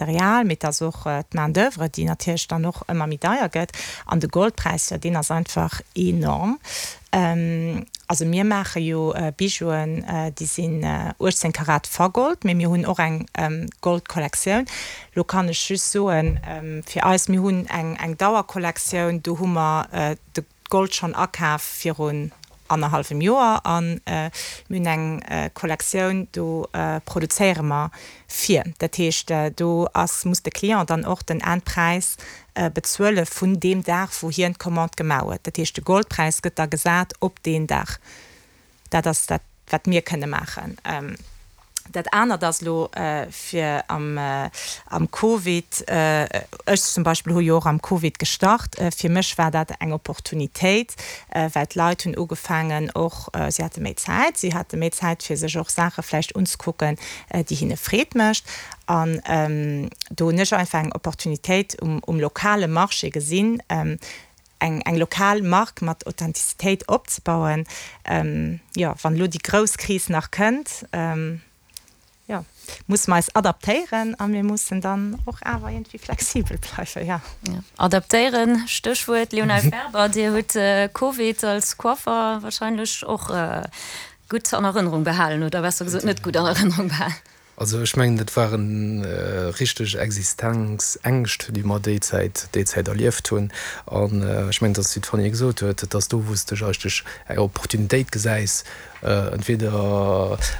d'Material, mee et ass och d'Main d'oeuvre, déi natierlech dann och ëmmer méi deier gëtt. An de Goldpräis, jo, deen ass einfach enorm. Also mir maache jo Bijouen, déi sinn 18 Karat vergold, mee mir hunn och eng Goldkollektioun. Lo kann ech just soen, fir eis, mir hunn eng Dauerkollektioun, do hu mer de Gold schonn akaf virun annerhallwem Joer a mir hunn eng Kollektioun, do produzéiere mer vir. Dat heescht, do ass, muss de Client dann och den Endpräis bezuele vun deem Dag, wou hien d'Commande gemaach huet. Dat heescht, de Goldpräis gëtt da gesat op deen Dag. Dat ass dat, wat mir kënne maachen. Dat anert ass elo fir am Covid, ech zum Beispill hu jo och am Covid gestart, fir mech war dat eng Opportunitéit, well d'Leit hunn ugefaangen och, si hate méi Zäit, si hate méi Zäit fir sech och Saache vläicht unzekucken, déi hinne Freed mécht. An do hunn ech einfach eng Opportunitéit um lokale Marché gesinn, eng eng lokal Mark mat Authentizitéit opzebauen. Jo, wann elo déi grouss Kris nach kënnt, jo, musse mer eis adaptéieren a mir mussen dann och awer iergendwéi flexibel bleiwen, jo. Adaptéieren, Stéchwuert. Léonel Ferber, Dir hutt Covid als Coiffer wahrscheinlech och gutt an Erënnerung behalen, oder besser gesot net gutt an Erënnerung behalen. Also ech mengen, dat ware richteg Existenzängscht, déi mer déi Zäit, déi Zäit erlieft hunn. An ech mengen, dass, wéi d'Fanny gesot huet, et ass do, wou s de eigentlech eng Opportunitéit gesäis, entweder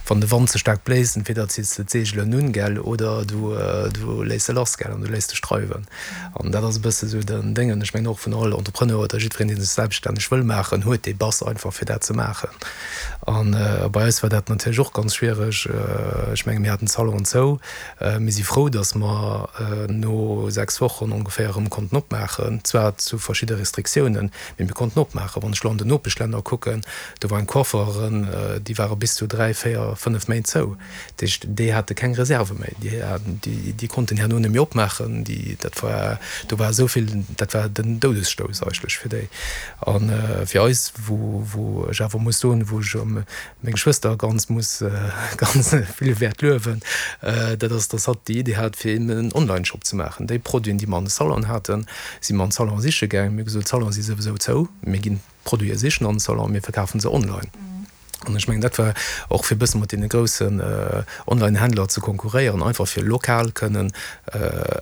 wann de Wand ze staark bléist, entweder ziss de d'Seegelen un, gell, oder du, du léiss se lass, gell, an du léiss dech dreiwen. An dat ass e bësse sou den Déngen. Ech mengen och vun all Entrepreneur oder jiddwereen, dee sech selbststänneg wëll maachen, huet dee Bass einfach, fir dat ze maachen. An bei eis war dat natierlech och ganz schwiereg. Ech menge mir haten d'Salonen zou. Mir si frou, datt mer no 6 Wochen ongeféier erëm konnten opmaachen, zwar zu verschidde Restriktiounen, mee mir konnten opmaachen. Wann ech elo an den Nopeschlänner kucken, do waren d'Coiffeuren, déi ware bis zu 3, 4, 5 Méint zou. Dat heescht, déi hate keng Reserve méi, déi konnten herno net méi opmaachen. Déi, dat war, do war esou vill, dat war den Doudesstouss eigentlech fir déi. A fir eis, wou, wou ech awer muss soen, wou ech meng Schwëster ganz muss ganz vill wäert luewen, dat ass, dass hatt déi Idee hat, fir eben en Onlineshop ze maachen. Déi Produiten, déi mer an de Salon haten, si mer an de Salon siche gaangen. Mir hu gesot, d'Salonen si souwisou zou, mir ginn d'Produite sichen an de Salon, mir verkafe se online. An ech mengen, dat war och fir e bësse mat deene groussen Online-Händler ze konkurréieren, einfach fir lokal kënnen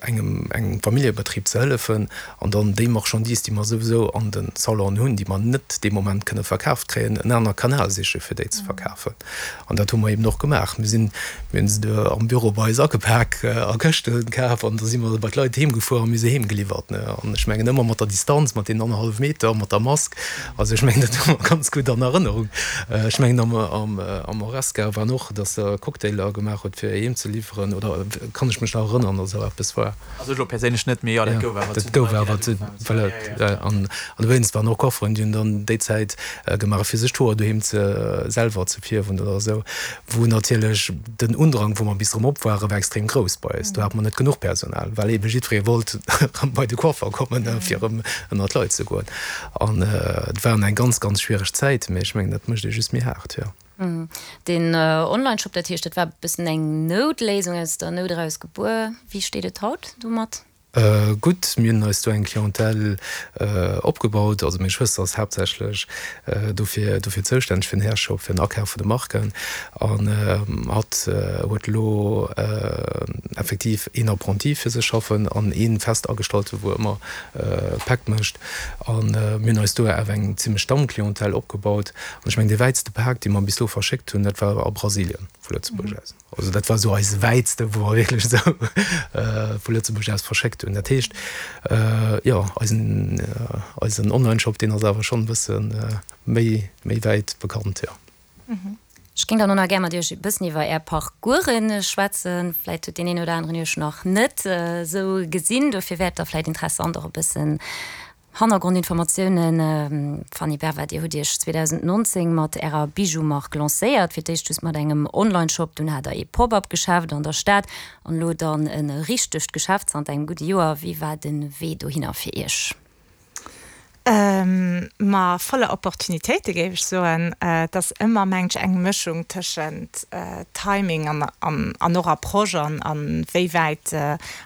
engem, engem Familljebetrib ze hëllefen an dann déi Marchandise, déi mer souwisou an de Salonen hunn, déi mer net dee Moment kënne verkaaft kréien, en aner Kanal siche fir déi ze verkafen. An dat hu mer eben och gemaach. Mir sinn, mir hunn se do am Büro bei eis agepak, a Këschte kaf an da si mer bei d'Leit heem gefuer a mir se heem geliwwert. An ech mengen ëmmer mat der Distanz, mat deenen annerhallef Meter, mat der Mask. Also ech mengen, dat hu mer ganz gutt an Erënnerung. Ech mengen am, am, am Horesca waren och, datt Der Cocktailer gemaach hutt fir heem ze liwweren, oder kann ech mech nach erënnern, datt esou eppes war? Also ech elo perséinlech net, mee jo, dat gouf awer. Dat gouf awer, voilà. An dowéinst waren och Coifferen, déi hunn dann déi Zäit gemaach, fir sech d'Hoer doheem ze selwer ze fierwen oder esou, wou natierlech den Undrang, wou mer bis erëm op waren, war extrem grouss bei eis. Do hate mer net genuch Personal, well eebe jiddweree wollt erëm bei de Coiffer kommen, fir erëm ënner d'Leit ze goen. An et war eng ganz, ganz schwiereg Zäit, mee ech mengen, dat mécht ee just méi haart, jo. Den Onlineshop, dat heescht, dat war e bëssen eng Noutléisung, aus der Nout eraus gebuer. Wéi steet et haut domat? Gutt, mir hunn eis do eng Clientèle opgebaut. Also meng Schwëster ass haaptsächlech dofir dofir zoustänneg, fir den Hairshop, fir den Akaf vun de Marken. An hatt huet elo effektiv een Apprenti fir sech schaffen an ee fest Agestallte wou ëmmer Päck mécht. A mir hunn eis do awer eng zimmlech Stammclientèle opgebaut. An ech mengen, dee wäitste Pak, dee mer bis elo verschéckt hunn, dat war a Brasilien vu Lëtzebuerg aus. Also dat war esou eise wäitste, wou mer wierklech esou vu Lëtzebuerg aus verschéckt hunn. Dat heescht, jo, eisen, eisen Onlineshop, deen ass awer schonn e bësse méi, méi wäit bekannt, jo. Ech géing dann och nach gär mat Iech e bëssen iwwer Är Parcoursen schwätzen. Vläit huet deen een oder aneren Iech nach net esou gesinn, dofir wär et da vläit interessant och e bëssen Hannergrondinformatiounen. Fanny Berva, Dir hutt Iech 2019 mat Ärer Bijou-Mark lancéiert, fir d'éischt just mat engem Online-Shop, dunn hat Der ee Pop-up-Geschäft an der Stad an elo dann e richtegt Geschäft zanter engem gudde Joer. Wéi war de Wee dohinner fir Iech? Ma voller Opportunitéite géif ech soen. Et ass ëmmer, mengen ech, eng Mëschung tëschent Timing an och Approche an wéi wäit.